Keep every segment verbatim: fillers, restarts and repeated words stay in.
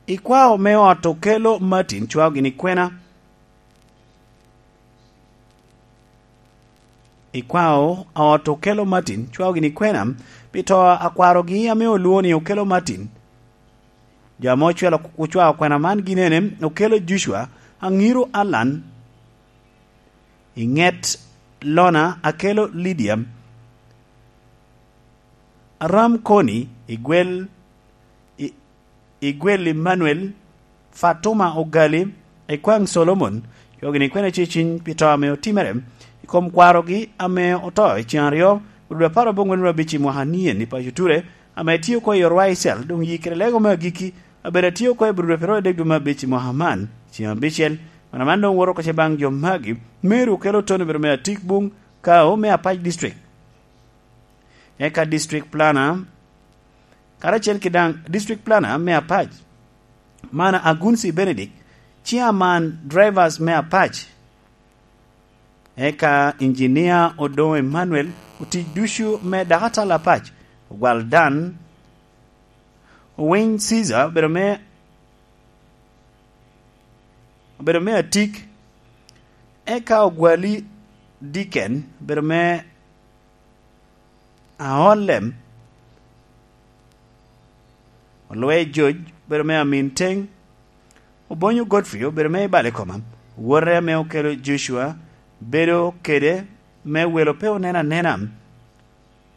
Ikwao me ot Okello Martin cwao gini kwena? Ikwao a ot Okello Martin cwao gini kwena pi to a kwarogi ame olwoŋo ni Okello Martin? Jo ame ocwelo, ocwao kwena man gin ene: Okello Joshua, Aŋiro Allan, Iŋet Lona, Akello Lydia, Aram Koni, Igwel, I-, Igwel Emmanuel, Fatuma Ogali, Ekwaŋ Solomon. Cwao gini kwena ceciny pi to ame otimere i kom kwarogi ame oto i ceŋ aryo, Obrud apar aboŋwen abic i mwaka nien i paco Ture, ame tye oko i Orwa i Cel, doŋ yi kede lego me agikki, abedo atye oko i Obrud apar adek dwe me abic i mwaka man, ceŋ abicel. Kwena man doŋ woto oko ce baŋ jo magi: Mary Okello Tony, obedo me Atik Buŋ Kao me Apac District. Eka District Planner, karacel ki daŋ District Planner me Apac, Mana Agunsi Benedict, Chairman Drivers me Apac, eka Engineer Odoŋo Emmanuel, otic ducu me Dakatal Apac, Ogwal Dan, Owiny Caesar, obedo me, obedo me Atik, eka Ogwali Diken, obedo me Aolem, Olwe George, obedo me Amin Teŋ, Obonyo Godfrey, obedo me Ibale Koma, wote ame Okello Joshua, bedo kede me welo pe onen anena,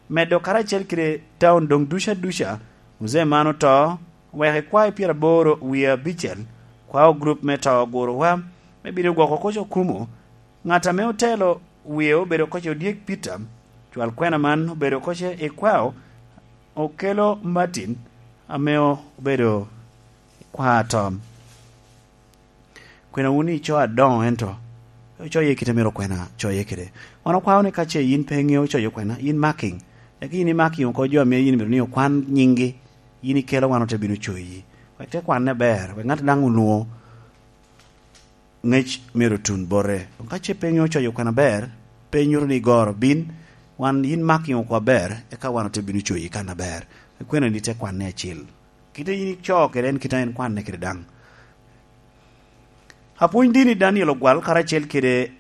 medo karacel kede taun doŋ duca duca. Muzee man oto, oweko i kwae pyeraboro wie abicel, kwao gurup me to ogurowa me bino gwoko koc okumo. Ŋat ame otelo wie obedo koc Odyek Peter, cwal kwena man obedo koc i kwao Okello Martin, ame obedo i kwao atom. Kwena wun ico adoŋo, ento ocoye kite myero kwena coye kede. Wan okwao ni ka ce yin pe iŋeo coyo kwena, yin marking. Eka yin i marking oko jo ame yin myero ni okwan nyinggi, yin ikelo, wan ote bino coyi. Wek te kwanne ber, wek ŋat daŋ onwoŋo ŋec myero otun bote. Doŋ ka ce pe iŋeo coyo kwena ber, pe nyuto ni igoro, bin, wan, yin marking oko aber, eka wan ote bino coyi kan aber. Kwena ni te kwanne acil. Kite yin ico kede en, kite en kwanne kede daŋ. Apwony dini Daniel Ogwal karacel kede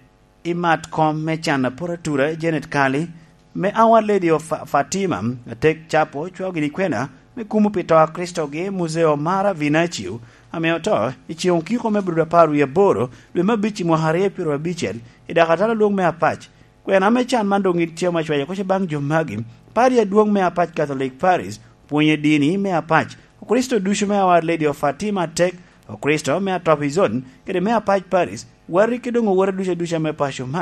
i mat kom me can apor atura Janet Kali, me Our Lady of Fa-, Fatima, Atek Capo, cwao gini kwena me kumo pi to a Kricitogi, Muzeo Mara Vinacio, ame oto i ceŋ okiko me Abril apar wie aboro, dwe me abic i mwaka aryo pyero abicel, i Dakatal Alwoŋ me Apac. Kwena me can man doŋ itye ame acwayo koc baŋ jo magi: Padi Adwoŋ me Apac Catholic Parish, pwonye dini me Apac, Okricito ducu me Our Lady of Fatima Atek, Okricito me Atop Izon, kede me Apac Parish, wati ki doŋ owote ducu aduca me paco man.